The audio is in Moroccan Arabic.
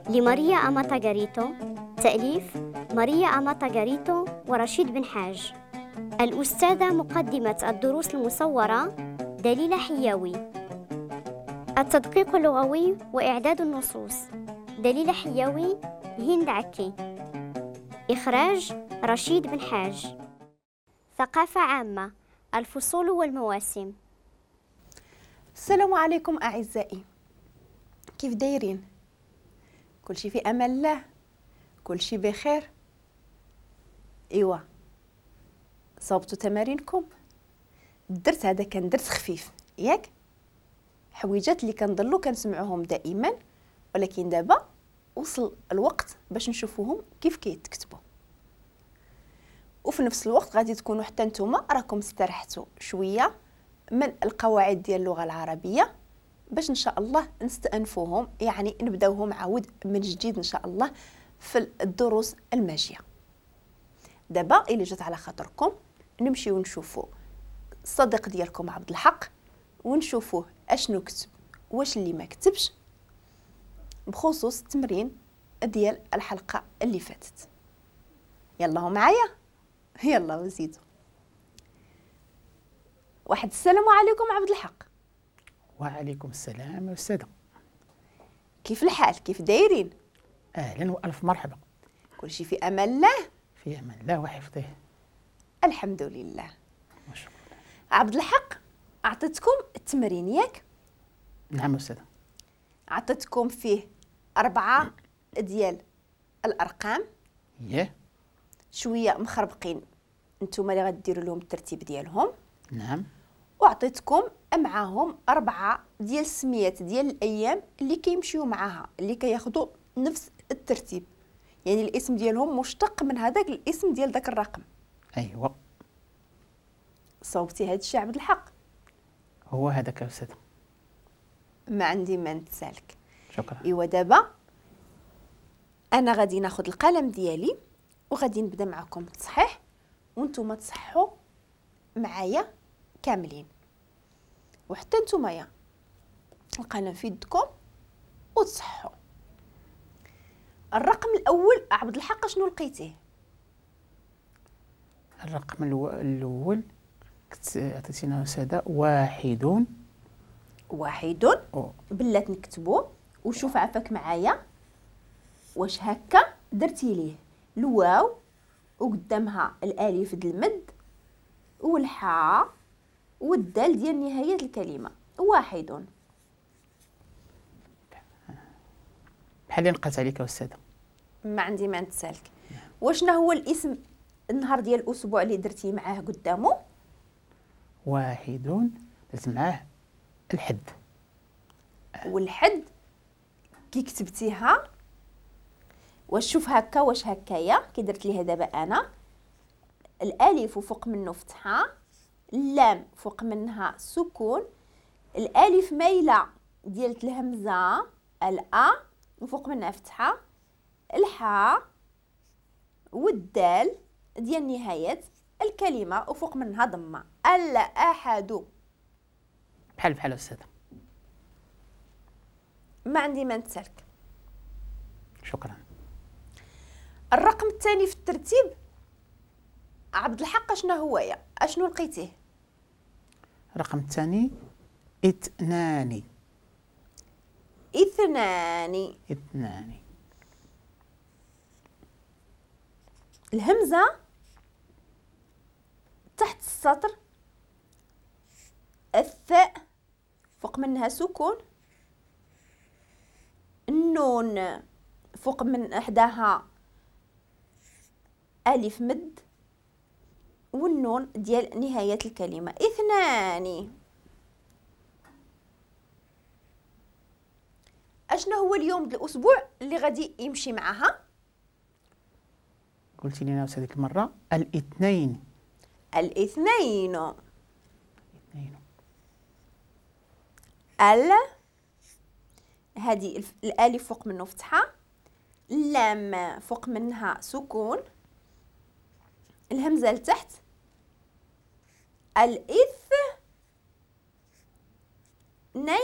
لماريا أماتا غاريتو، تأليف ماريا أماتا غاريتو ورشيد بن حاج. الأستاذة مقدمة الدروس المصورة دليلة حياوي. التدقيق اللغوي وإعداد النصوص دليلة حياوي، هند عكي. إخراج رشيد بن حاج. ثقافة عامة، الفصول والمواسم. السلام عليكم أعزائي، كيف دايرين؟ كل شي في أمان الله، كل شي بخير. إيوا صوبتوا تمارينكم؟ الدرس هذا كان درس خفيف ياك، حويجات اللي كنضلوا كنسمعوهم دائما، ولكن دابا وصل الوقت باش نشوفوهم كيف كيتكتبوا، وفي نفس الوقت غادي تكونوا حتى نتوما راكم استرحتوا شوية من القواعد ديال اللغة العربية باش ان شاء الله نستأنفوهم، يعني نبداوهم عاود من جديد ان شاء الله في الدروس الماجيه. دابا الا جات على خاطركم نمشيو نشوفوا الصديق ديالكم عبد الحق ونشوفوه اشنو كتب واش اللي ما كتبش بخصوص التمرين ديال الحلقة اللي فاتت. يلا هو معايا، يلا وزيدوا. واحد السلام عليكم عبد الحق. وعليكم السلام أستاذة، كيف الحال؟ كيف دايرين؟ أهلا وألف مرحبا. كل شيء في أمان الله؟ في أمان الله وحفظه، الحمد لله. وشكرا. عبد الحق أعطيتكم التمرين ياك؟ نعم أستاذة. أعطيتكم فيه 4 ديال الأرقام. ياه شوية مخربقين، نتوما اللي غديروا لهم الترتيب ديالهم. نعم. وعطيتكم معاهم 4 ديال السميات ديال الايام اللي كيمشيو معاها، اللي كياخذوا نفس الترتيب، يعني الاسم ديالهم مشتق من هذاك الاسم ديال داك الرقم. ايوا صوبتي هذا الشيء عبد الحق؟ هو هذاك استاذ، ما عندي ما نتسالك. شكرا. ايوا دابا انا غادي ناخذ القلم ديالي وغادي نبدا معكم التصحيح، وانتم تصحوا معايا كاملين، وحتى نتوما يا القلم في يدكم وتصحوا. الرقم الاول عبد الحق شنو لقيتيه؟ الرقم الاول كنت عطيتينا استاذه 1. 1 بلات نكتبو، وشوف عفاك معايا واش هكا درتي ليه الواو وقدامها الالف د المد والحاء والدال ديال نهاية الكلمة. 1. بحال اللي نقلت عليك أستاذة. ما عندي ما نتسالك. وشنا هو الاسم النهار ديال الأسبوع اللي درتي معاه قدامه؟ 1 درت معاه الحد. والحد كي كتبتيها واش شوف هكا واش هكايا كي درت ليها دابا أنا الألف وفوق منه فتحة، اللام فوق منها سكون، الالف مايلة ديال الهمزة الا وفوق منها فتحه، الحاء والدال ديال نهاية الكلمة وفوق منها ضمه. الاحد. بحال بحال استاذه، ما عندي ما نتسالك. شكرا. الرقم الثاني في الترتيب عبد الحق اشنو هو يا اشنو لقيتيه؟ الرقم الثاني 2. 2. 2. الهمزة تحت السطر، الثاء فوق منها سكون، النون فوق من احداها ألف مد، والنون ديال نهاية الكلمة. 2. اشنو هو اليوم ديال الأسبوع اللي غادي يمشي معها؟ قلتي لنا هذيك المرة الاثنين. الاثنين. 2. ال هذه الالف فوق منه فتحة، اللام فوق منها سكون، الهمزة لتحت، الإث نين.